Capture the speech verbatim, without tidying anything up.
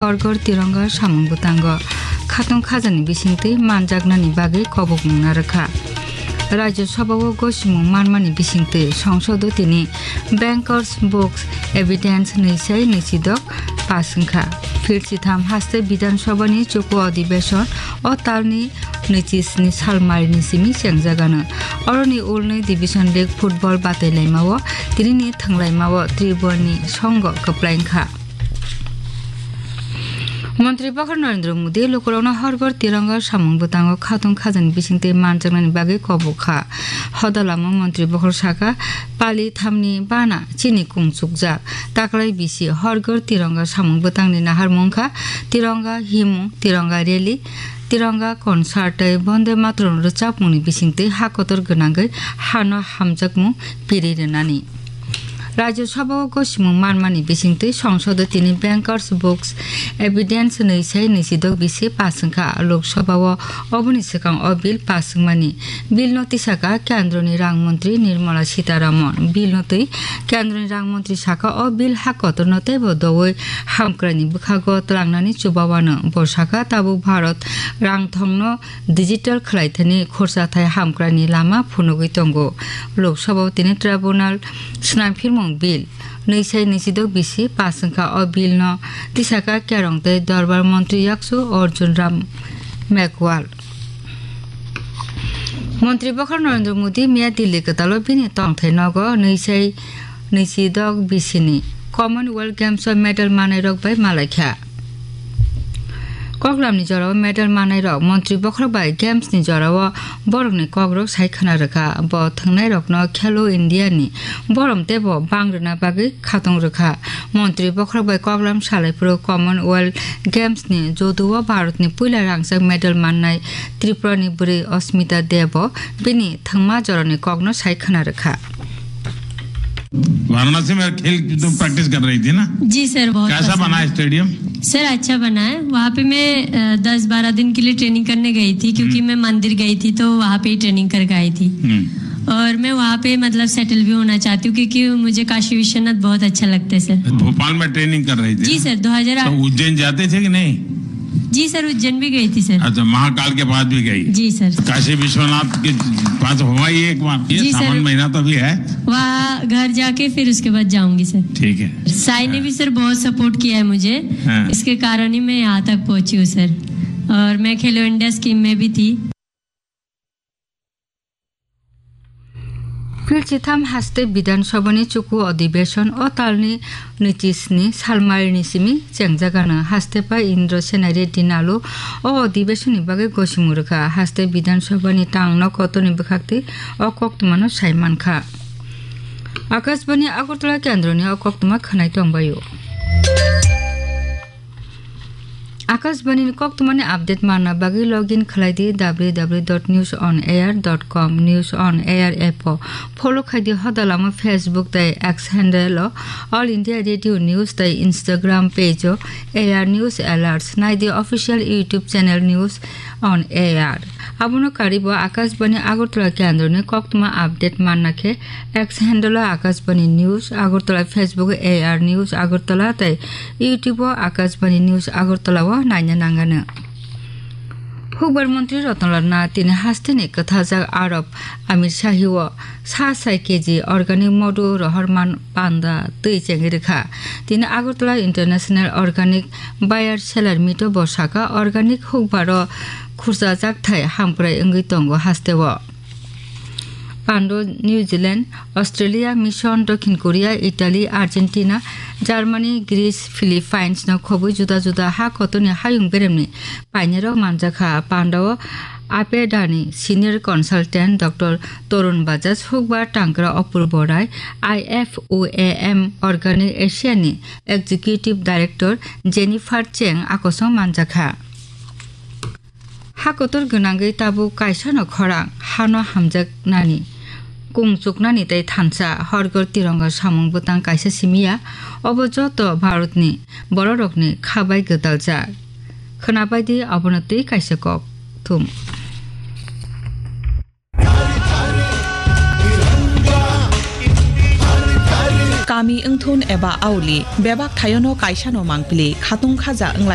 Hor Ghor Tironga samung bwtango khatung khajani bisingtwi manjaknani bagwi kobokmung narwkha. Rajya Sabha o gosimung manmani bisingtwi songsodo tini Bankers Books Evidence nwi sai nwisidok pass wngkha. Phil sitham haste Bidhan Sabha ni chuku adhibeshon o talni nwichi sni salmarini simi chengjagano. Oroni ulnwi Division League football batailaimao tinini thwnglaimao Tribhuani songho kwplai wngkha. Montri Bokhor Narendra Modi lukurokno Hor Ghor Tironga samung bwtango khatung khajani bisingtwi manjaknani bagwi kobok kha. Hodalamo Montri Bokhor saka, pali thamni bana chini kung chukjak. Taklai bisi Hor Ghor Tironga samung bwtangni naharmung kha Tironga himung, Tironga rally, Tironga concert tei Bonde Mataram rwchapmungni bisingtwi ha kotor gwnangwi hano hamjakmung piri rwnani. Rajya Sabha o gosimung manmani bisingtwi songsodo tini Bankers Books Evidence nwi sai nwisidok bisi pass wngkha. Lok Sabha o oboni swkang o bill pass wngmani. Bill no tisaka Kendroni Rang Montri Nirmala Sitharaman. Bill no twi Kendroni Rang Montri saka o bill ha kotorno teibo doui hamkraini bwkhago twlangnani chubawano. Bo saka tabuk Bharat rang thongno digital khwlaithani khorsa thai hamkraini lama phunugwi tongo. Lok Sabha o tini tribunal swnamphirmung bill nwi sai nwisidok bisi pass wngkha. O bill no tisaka Kerong tei Dorbar Montri Yaksu Arjun Ram Meghwal. Montri Bokhor Narendra Modi miya Delhi kwtalo bini tongthai nogo nwi sai nwisidok bisini Commonwealth Games o medal mannairok bai malaikha. Koklamni jorao medal mannairok Montri Bokhorok bai Games ni jorao borokni kokrok sai khwna rwkha. Bo thwngnairokno Khelo India ni borom teibo bang rwna bagwi khatung rwkha. Montri Bokhorok bai koklam salaiphuru Commonwealth Games ni judo o Bharatni puila rangchak medal mannai Tripurani bwrwi Asmita Deb bo bini thwngma jorani kokno sai khwna rwkha. Varanasi में खेल तुम प्रैक्टिस कर रही थी ना? जी सर, बहुत कैसा पसंद बना है। है स्टेडियम? सर, अच्छा बना है। वहाँ पे मैं, अ, दस बारह दिन के लिए ट्रेनिंग करने गई थी, क्योंकि हम्म। मैं मंदिर गई थी, तो वहाँ पे ही ट्रेनिंग करके आई थी। हम्म। और मैं वहाँ पे, मतलब, सेटल भी होना चाहती हूँ, क्योंकि मुझे काशी विश्वनाथ बहुत अच्छा लगता है, सर। भोपाल में ट्रेनिंग कर रही थी जी ना? सर, दो हज़ार आठ। तो उज्जैन जाते थे कि नहीं? जी सर, उज्जैन भी गई थी सर। अच्छा, महाकाल के पास भी गई? जी सर। काशी विश्वनाथ के पास हो आई एक बार? ये जी सर। सावन महीना तो भी है। वहाँ घर जाके फिर उसके बाद जाऊंगी सर। ठीक है। साई ने भी सर बहुत सपोर्ट किया है मुझे, हाँ। इसके कारण ही मैं यहाँ तक पहुंची हूँ सर। और मैं खेलो इंडिया स्कीम में भी थी। Phil sitham haste Bidhan Sabha ni chuku adhibeshon o talni nwichi sni salmarini simi chengjagano. Haste pai Indra Sena Reddy Nalu o adhibeshon ni bagwi gosimung rwkha. Haste Bidhan Sabha ni tangno kotorni bwkhaktwi o koktwmano sai mankha. Akashbani Agartala kendroni o koktwma khwnai tongbaio. Akashbani ni koktwmani update manna bagwi login khlai di w w w dot news on air dot com, News on Air app o. Follow khai di hodalamo Facebook tei X handle o All India Radio News tei Instagram page o A R News Alerts. Nai di official YouTube channel News on A R. Abono karwi bo Akashbani Agartala kendroni koktwma update manna khe X handle o Akashbani News Agartala, Facebook o A R News Agartala tei YouTube o Akashbani News Agartala o naina nangano. Hukbar Montri Ratan Lal Nath tini hasteni kwthajak Arab Amir Shahi o sa sai K G organic modhu rohorman panda twi chengwi rwkha. Tini Agartala International Organic Buyer Seller Meet o bo saka, organic hukbar o khurchajak thai hamkrai wngwi tongo hasteo. Pando New Zealand, Australia, Mission, Dokhin Korea, Italy, Argentina, Germany, Greece, Philippines no khobwi juda juda ha kotorni hayung beremni painirok manjakha. Pandao Apedani Senior Consultant Doctor Torun Bajaj, Hukbar Tangkra Apurbo Rai, I F O A M Organic Asia ni Executive Director Jennifer Cheng akosong manjakha. Ha kotor gwnangwi tabuk kaisano khorang hano hamjaknani, kung chuknani tei thansa Hor Ghor Tironga samung bwtang kaisa simi ya, obo joto Bharatni bororokni kha bai gwdaljak. Khwnabai di abono twi kaisa kok thum. Kami wngthun eba auli, bebak thaiono kaisano mangpili, khatung khaja wnglai